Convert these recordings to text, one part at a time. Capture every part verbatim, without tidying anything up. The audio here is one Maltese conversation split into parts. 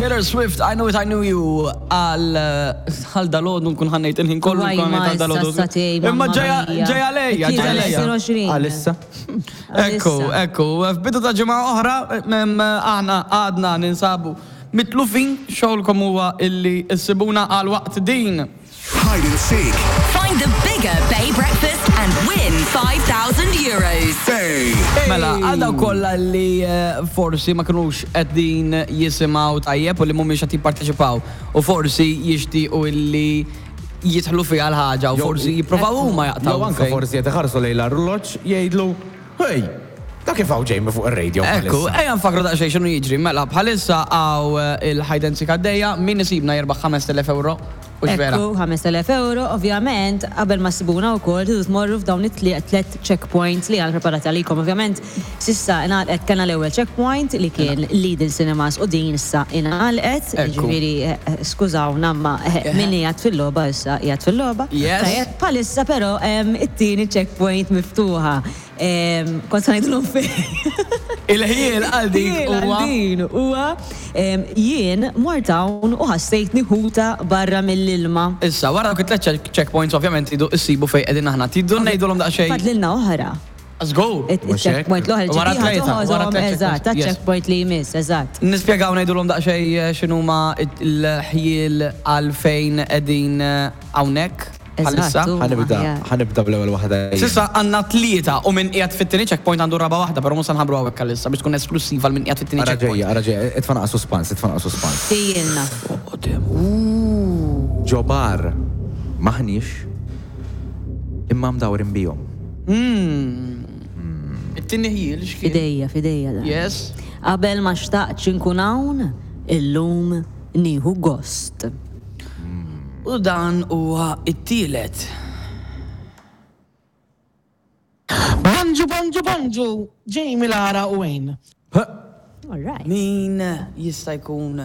Taylor Swift, "I Knew It, I Knew You", għal għal dalgħodu nkun ħannejt il-ħin kollu Waj, nkun ma ħannejt għal dalgħodu. issa satej, Imma mamma ġeja mia. ġeja lejja, ġeja lejja. tlieta u għoxrin. Għalissa. Ekku, ekku, f'bidu ta' ġimgħa oħra, mem, aħna għadna ninsabu mitlufin. Xogħolkom huwa illi issibuna għal waqt din. Hide and seek. Find the bigger Bay Breakfast and win five thousand euros. Bay. Mela, għal dawk kollha li eh, forsi ma kinux qegħdin jisimgħu tajjeb u li mhumiex qed jipparteċipaw u forsi jixtiequ illi jidħlu fiha l-ħaġa u Jew- forsi jippruvaw huma jaqtaw. Jew anka fejn. Forsi qed iħarsu lejn l-arloġġ jgħidlu, "Hey, da kif hawn Jamie fuq ir-radio Ekku, bħalissa?" ejja nfakru daqsxejn x'inhu jiġri. Mela, bħalissa hawn eh, il-hide and seek għaddejja, min isibna jirbaħ ħamest elef euro. U vera. Ekku, ħamest elef euro, ovvjament, qabel ma ssibuna wkoll, tridu tmorru f'dawn it-tliet checkpoints li għal preparati għalikom. Ovvjament, s'issa ingħalqet, kellna l-ewwel checkpoint li kien Lidl Cinemas u din issa ingħalqet, Ekku. ġifieri eh, eh, skużawna ma eh, min qiegħed fil-logħba issa qiegħed fil-logħba. Yes. Tajjeb, bħalissa però em, it-tieni checkpoint miftuħa. Em, Kont se ngħidulhom fejn. Il-ħjiel għal dik Jien huwa għal din huwa em, jien mort hawn u ħassejtni ħuta barra mill-ilma. Issa, wara dawk it-tliet check- checkpoints, ovvjament, idu issibu fejn qegħdin aħna. Tridu ngħidulhom daqsxejn. Fadlilna oħra. Let's go. Il-checkpoint l-oħra. Wara tlieta, wara tliet Eżatt, checkpoints, yes. checkpoint li jmiss, eżatt. Nispjegaw, ngħidulhom daqsxejn eh, x'inhuma il-ħjiel għalfejn qegħdin eh, hawnhekk bħalissa. Eżatt, u- Ħa nibda, aħjar. Ħa nibda bl-ewwel waħda. S'issa għandna tlieta u min qiegħed fit-tieni checkpoint għandu raba waħda, però mhux se nħabbru hawnhekk għalissa biex tkun esklusiva għal min qiegħed fit-tieni Ara checkpoint. ġejja, ara ġejja, itfa' naqra suspans, itfa' naqra suspans. Tijilna. Ġo bar maħniex imma mdawrin bihom. It-tieni ħjiel x'kien? Fidejja, fidejja da. Yes. Qabel ma xtaqtx inkun hawn, illum nieħu gost. U dan huwa it-tielet. Bonġu, bonġu, bonġu, Jamie, Lara u Wayne. All right. Min jista' jkun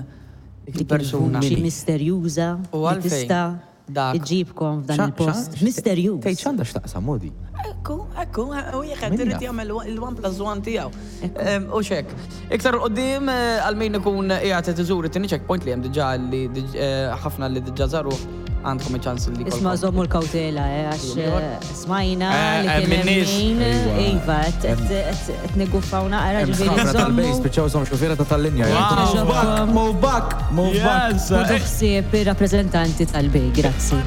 dik il-persuna? Xi misterjuża U li għalfejn tista' dak? iġġibkom f'dan il-post. Misterjuż. Tgħid x'għandha x'taqsam modi? Ekku, ekku, u jekk Min irid jaf? jagħmel il-one plus one tiegħu. Em, U xek. Iktar qoddim eh, għal min ikun qiegħed iżur it-tieni checkpoint li hemm diġà li diġ- eh, ħafna li diġà żaru, għandkom iċ-ċans li Isma' jkollkom. żommu l-kawtela, eh, għax eh, smajna Eh, li eh, kien min hemm nies. min, Iva. iva, qed- qed qed niguffaw naqra, Hemm ġifieri sħabna tal-Bay żommu. spiċċaw żomm xufiera ta' tal-linja. Wow. Move back, move back, move back. Yes! Ħudu ħsieb ir-rappreżentanti tal-Bay, grazzi.